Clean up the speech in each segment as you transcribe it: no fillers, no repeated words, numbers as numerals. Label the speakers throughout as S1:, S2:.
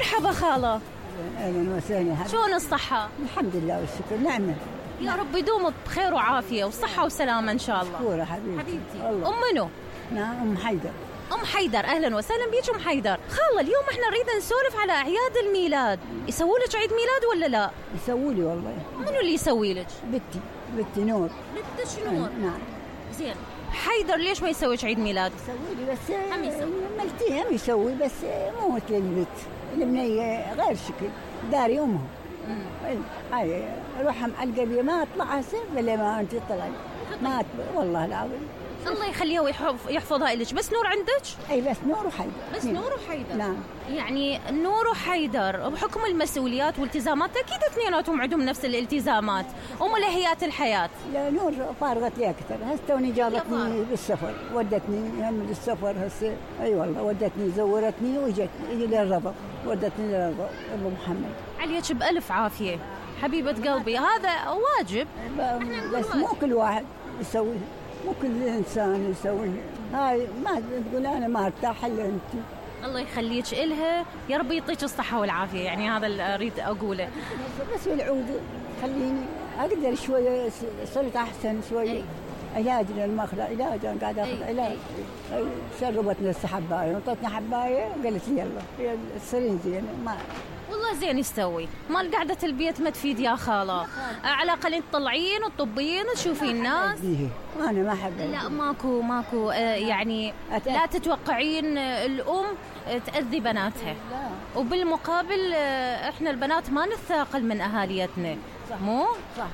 S1: مرحبا خالة.
S2: اهلا وسهلا.
S1: شلون الصحة؟
S2: الحمد لله والشكر، نعمة.
S1: يا رب يدوم بخير وعافية وصحة وسلامة ان شاء الله.
S2: مشكورة حبيبتي.
S1: ام منو؟
S2: نعم ام حيدر.
S1: ام حيدر، اهلا وسهلا بيك ام حيدر. خالة اليوم احنا نريد نسولف على اعياد الميلاد، يسووا لك عيد ميلاد ولا لا؟
S2: يسووا لي والله.
S1: منو اللي يسوي لك؟
S2: بنتي نور.
S1: بنتك نور؟
S2: نعم.
S1: زين حيدر ليش ما يسوي عيد ميلاد؟
S2: يسوي لي بس
S1: هم يسوي.
S2: ملتي هم يسوي بس مو مثل البنت. البنية غير شكل، داري امها. هاي روحها معلقة بي ما اطلع هسه ولا ما انت طلعي. ما والله العظيم.
S1: الله يخليها ويحفظها لك. بس نور عندك؟
S2: اي بس نور وحيدر.
S1: بس نور وحيدر.
S2: نعم.
S1: يعني نور وحيدر بحكم المسؤوليات والالتزامات اكيد اثنيناتهم عندهم نفس الالتزامات وملهيات الحياة.
S2: لا نور فارغت لي اكثر، هسه توني جابتني بالسفر، ودتني هم للسفر هسه. اي والله ودتني زورتني وجتني للربط، ودتني للربط ابو محمد.
S1: عليك بألف عافية حبيبة قلبي، هذا واجب.
S2: بس مو كل واحد يسوي، مو كل انسان يسوي. هاي ما تقول انا ما ارتاح الا انت.
S1: الله يخليك إلها، يا رب يعطيك الصحة والعافية، يعني هذا اللي أريد أقوله.
S2: بس العود خليني أقدر شوية، صرت أحسن شوية. علاج للمخلة، علاج أنا قاعدة أخذ علاج. شربتني حباية، نطتني حباية قالت لي يلا هي تصيرين زين. ما
S1: والله زين يستوي، مال قعدة البيت ما تفيد يا خالة. على الأقل تطلعين وتطبين وتشوفين الناس.
S2: أنا ما أحب.
S1: لا ماكو يعني لا تتوقعين الأم تأذي بناتها. وبالمقابل إحنا البنات ما نثاقل من أهاليتنا. مو؟
S2: صح.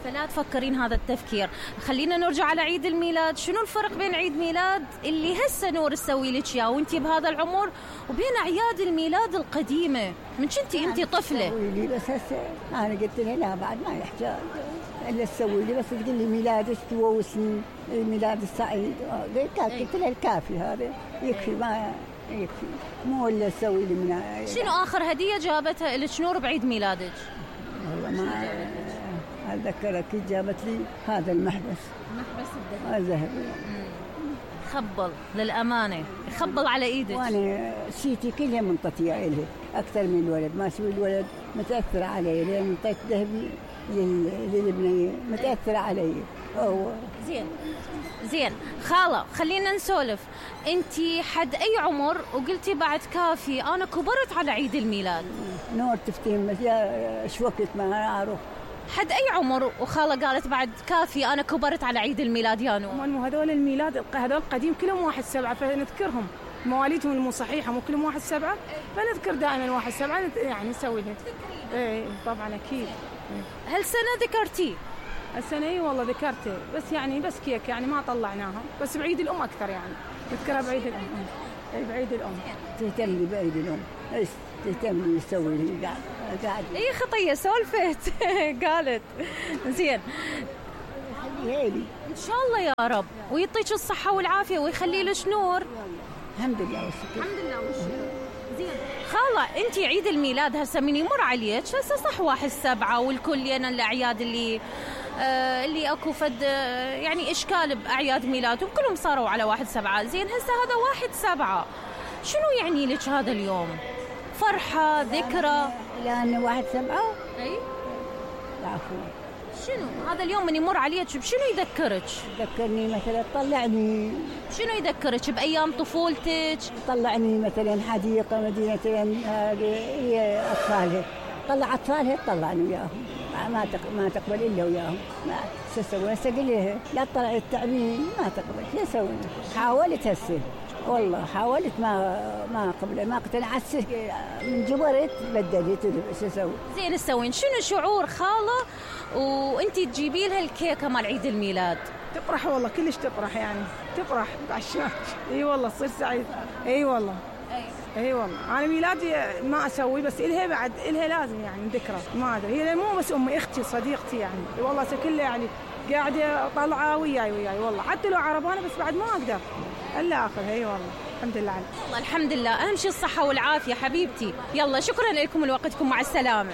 S1: فلا تفكرين هذا التفكير. خلينا نرجع على عيد الميلاد. شنو الفرق بين عيد ميلاد اللي هسه نور تسوي لك اياه وانتي بهذا العمر وبين اعياد الميلاد القديمه من كنتي انتي طفله؟
S2: لي بس هسه انا قلت لها لا بعد ما يحتاج الا تسوي لي، بس تقول لي ميلادك توسني الميلاد السعيد. قلت لها الكافي هذا يكفي، ما يكفي مو الا تسوي لي من.
S1: شنو اخر هديه جابتها لك نور بعيد ميلادك؟
S2: والله ما أتذكر. أكيد جابت لي هذا المحبس الذهبي.
S1: خبل للأمانة، يخبل على إيدك.
S2: وأنا سيتي كلها منطتي إليه أكثر من الولد، ما سوي الولد متأثر علي لأن منطت ذهبي للبنية متأثر علي.
S1: زين خالة خلينا نسولف. أنتي حد أي عمر وقلتي بعد كافي أنا كبرت على عيد الميلاد؟
S2: نور تفتهم بس يا شو وقت ما أعرف.
S1: حد أي عمر وخالة قالت بعد كافي أنا كبرت على عيد الميلاد يا نور؟
S3: مو هذول الميلاد هذول قديم كلهم 1/7 فنذكرهم، مواليدهم مو صحيحة مو كلهم 1/7 فنذكر دائما 1/7 يعني نسوي لها. ايه طبعا أكيد.
S1: هالسنة ذكرتي؟
S3: السنة اي والله ذكرته، بس يعني بس كيك يعني ما طلعناها، بس بعيد الأم أكثر يعني نذكرها بعيد الأم. اي بعيد الأم.
S2: تهتم لي بعيد الأم، ايش تهتم لي يسوي لي قاعد.
S1: اي خطية سولفت قالت. زين
S2: هيلي
S1: ان شاء الله يا رب ويعطيك الصحة والعافية ويخلي لك نور.
S2: الحمد لله والشكر.
S1: الحمد لله والشكر. زين خالة انتي عيد الميلاد هسه من يمر عليك هسه صح 1/7 والكل ينا الاعياد اللي اكو فد يعني اشكال باعياد ميلادهم كلهم صاروا على 1/7. زين هسه هذا 1/7 شنو يعني لك هذا اليوم؟ فرحة ذكرى؟
S2: لأن 1/7.
S1: اي
S2: العفو.
S1: شنو هذا اليوم من يمر عليك بشنو يذكرك؟
S2: يذكرني مثلا طلعني.
S1: شنو يذكرك بايام طفولتك؟
S2: طلعني مثلا حديقه مدينه هي اطفالها، طلع اطفالها طلعني وياهم، ما تقبل الا وياهم. شو اسوي هسه؟ قل لها لا تطلع التعبين ما تقبل. شو اسوي؟ حاولت هسه والله حاولت ما قبل ما اقتنعت من جبرت بدلت. شو اسوي؟
S1: زين تسوين شنو شعور خاله وانتي تجيبي لها الكيكه مال عيد الميلاد؟
S3: تفرح والله كلش تفرح يعني تفرح عشان اي والله تصير سعيد. اي والله اي والله انا ميلادي ما اسوي بس الها بعد الها لازم يعني ذكرى ما ادري هي مو بس امي اختي صديقتي يعني والله كلها يعني قاعده طالعه وياي والله حتى لو عربانه بس بعد ما اقدر الا اخذها. اي والله الحمد لله عليك.
S1: والله الحمد لله اهم شيء الصحه والعافيه حبيبتي. يلا شكرا لكم لوقتكم مع السلامه.